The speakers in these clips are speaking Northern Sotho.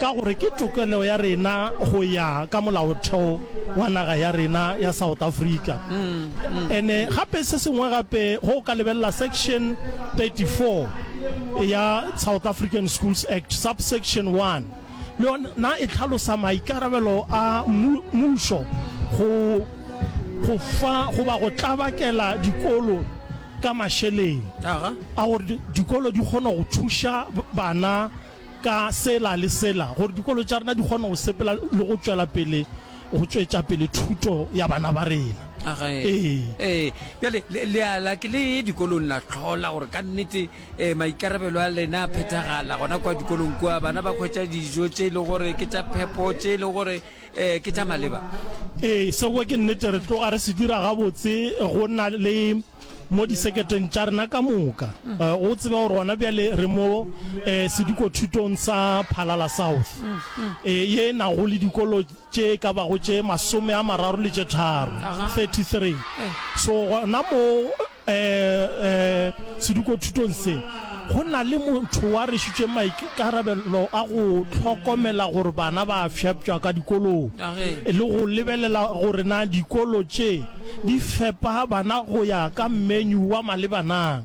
Ka gore ke tokelo ya rena go ya ka molaotheo wa naga ya rena ya South Africa. Ene gape se sengwe gape go ka lebelela section 34 ya South African Schools Act subsection 1 le yona e hlalosa maikarabelo a mmušo go go fa goba go tlabakela dikolo ka mašeleng a gore dikolo di kgone go thuša bana ka sela le sela gore dikolo tša rena di kgone go sepela le go tšwela pele go tšwetša pele thuto ya bana ba rena. Aga, Ee. ee. Bjale, le, le a la ke le ye dikolong la hlola gore ka nnete eh, maikarabelo a lena a phethagala gona kwa dikolong kua, bana ba hwetša dijo tše e lego gore ke tša phepo, tše e lego gore eh, ke tša maleba. Ee, seo ke nnete, re tloga re se dira gabotse go na le mo diseketeng tša rena ka moka. O tsebe gore gona bjale re mo sedikothutong sa Phalala South, ye e nago le dikolo tše e ka bago tše 33, 33. So gona mo sedikothutong se go na le motho wa rwešitšweng maikarabelo a go hlokomela gore bana ba a fepša ka dikolong le go lebelela gore na dikolo tše di fepa bana go ya ka menu wa maleba na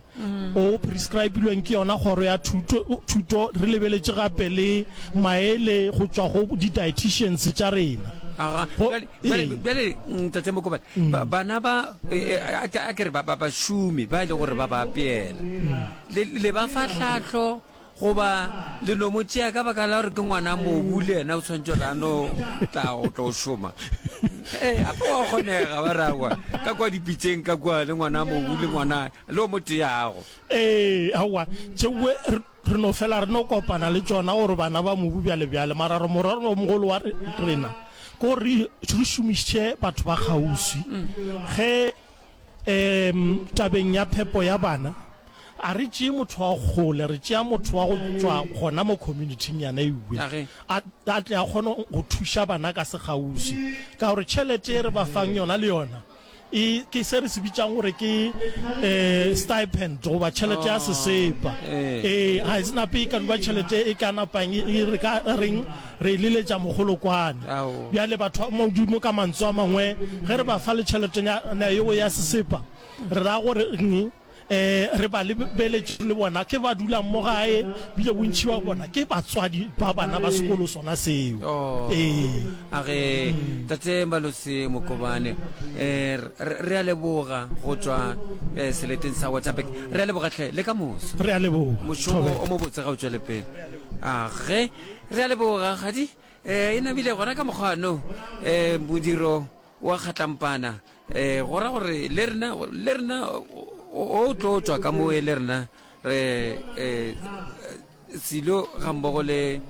o prescribilweng ke yona kgoro ya thuto, thuto re lebeletše gape le maele go tšwa go di-dietitians tša rena. Aga, Go, bjale, bjale, ee. bjale, Ntate Mokobane, ba, bana ba, e, e, a ke, a ke re ba, ba, bašomi ba e le gore ba ba apeela, le, le ba fa tlhahlo goba le no mo tšea ka baka la gore ke ngwana mobu le yena o tshwanetse gore a no tla go tlo šoma? Ee, gape wa kgonega ba re aowa, ka kua dipitseng ka kua le ngwana mobu le ngwana le o mo teago. Ee, aowa, tšeoe re, re no fela re no kopana le tšona gore bana ba mobu bjale bjale, mara re morero o mogolo wa rena ke gore re, re šomiše batho ba kgauswi ge um tabeng ya phepo ya bana. A re tšee motho wa kgole, re tšea motho wa go tšwa gona mo community-ing yana ewe, a, a tle a kgone go thuša bana ka sekgauswi. Ka gore tšhelete e re ba fang yona le yona e ke se re se bitšang gore ke um stipend goba tšhelete ya sesepa. Ee, ga e se nape e ka no ba tšhelete e ka napang e, e re ka reng re e leletša mogolokwane. Bjale batho ba Modimo ka mantswe a mangwe ge re ba fa le tšheletenyana yeo ya sesepa, re ra gore eng? E, re ba lebeletše le bona ke ba dulang mo gae, bile bontši ba bona ke batswadi ba bana ba sekolo sona seo. Oh, Ee. a ge Tate Malose Mokobane, eh, re, re a leboga go tšwa eh, seleteng sa Waterberg. Re a leboga hle, le ka moso. Re a leboga. Mošomo Thobela. o mobotse ga o tšwele pele. A ge, re a leboga, Kgadi. Eh, e namile gona ka mokgwa no, eh, modiro wa kgatlampana. Eh, go ra gore le rena, le rena o tlo tšwa ka moe le rena re eh, silo ga mmogo le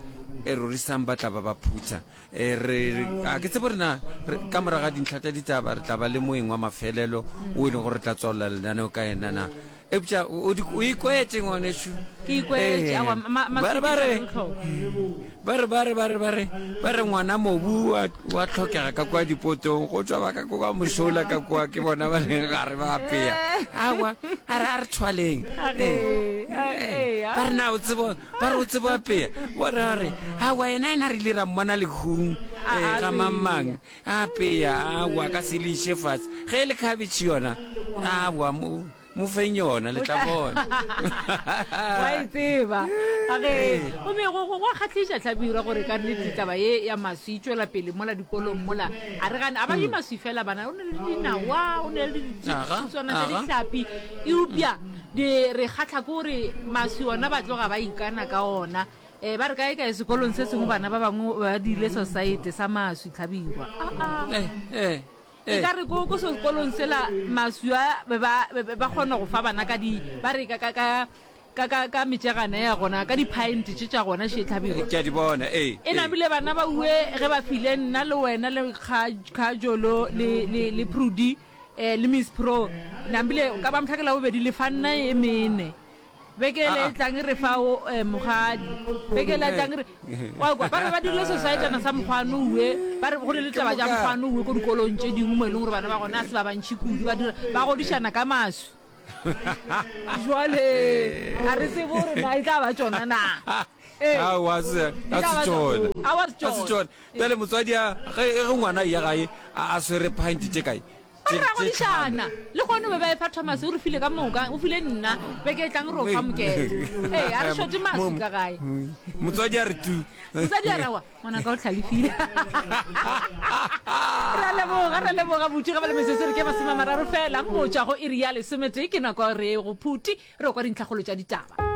e rorisang ba tla ba ba phutha. Eh, re, a ke tsebe rena ka morago ga dintlha tša ditaba re tla ba le moeng wa mafelelo o e leng gore re tla tswalela lenaneo ka yena na. Eupša o, o ikwetše ngwanešu. Ke ikwetše, aowa, ma, ma, Ba re, ba re, ba re, ba re, ba re, ba re, ba re ngwana mobu wa, wa tlhokega ka kwa dipotong, go tšwa ba ka kwa mošola ka kwa, ke bona ba leng gare ba apea. Aowa, a re, a re thwaleng. Eh, eh, ba re na o tsebo, ba re o tsebo apea. Ba re, a re, aowa, yena, yena re ile ra mmona lehung, eh, ga mang mang. Apea, aowa, ka se le iše fatshe. Ge e le khabetšhe yona, aowa, mo, Mo feng yona, le tla bona. Wa e tseba. A ge, gomme go, go, go a kgahliša, Hlabirwa, gore ka nnete taba ye ya maswi e tšwela pele mola dikolong mola. A re gane, a ba je maswi fela bana, o ne le dinawa, o ne le dithutswana tša dihlapi. Eupša di re kgahla ke gore maswi ona ba tloga ba ikana ka ona. Eh, ba re kae kae sekolong se sengwe bana ba bangwe ba dirile sosaete sa maswi, Hlabirwa. Aa. Eh, eh. E ka re ko, ko sekolong sela maswi a be ba, be ba kgona go fa bana ka di, ba re ka, ka, ka, ka, ka, ka metšegana ya gona, ka di-pint tše tša gona še tlhabirwa. Ke a di bona, ee, E ee. namile bana ba ue ge ba file nna le wena le Kga, Kgajolo le, le, le Prudy, eh, le Miss Pro, namile ka ba mohla ke Labobedi le fa nna e mene. Beke ele e tlang re fa o eh, mogadi. Beke ele e tlang re wa kwa ba be ba dirile sosaetana sa mokgwano uwe ba re go ne le taba tša mokgwano uwe ko dikolong tše dingwe mo e leng gore bana ba gona a se ba bantši kudu ba dira ba godišana ka maswi. Jwale a re tsebe gore na e tla ba tšona na. Ee. Aowa, a se a se tšona. Aowa, a se A se tšona. tšona. Bjale motswadi a ge ge ngwana a eya gae a a swere pint tše kae? Ba Tše re ra tše godišana. Le gone o be ba efa Thomas o re file ka moka, o file nna, beke e tlang re o fa mokete. Ee, a re šote maswi ka gae. Motswadi a re tu. Motswadi a re aowa, ngwanaka o hlalefile. Re a leboga, re a leboga buti ga ba le metsotso re ke masomeamararo fela go tšwa go iri ya lesometee ke nako re go phuti re kwa dintlhakgolo tša ditaba.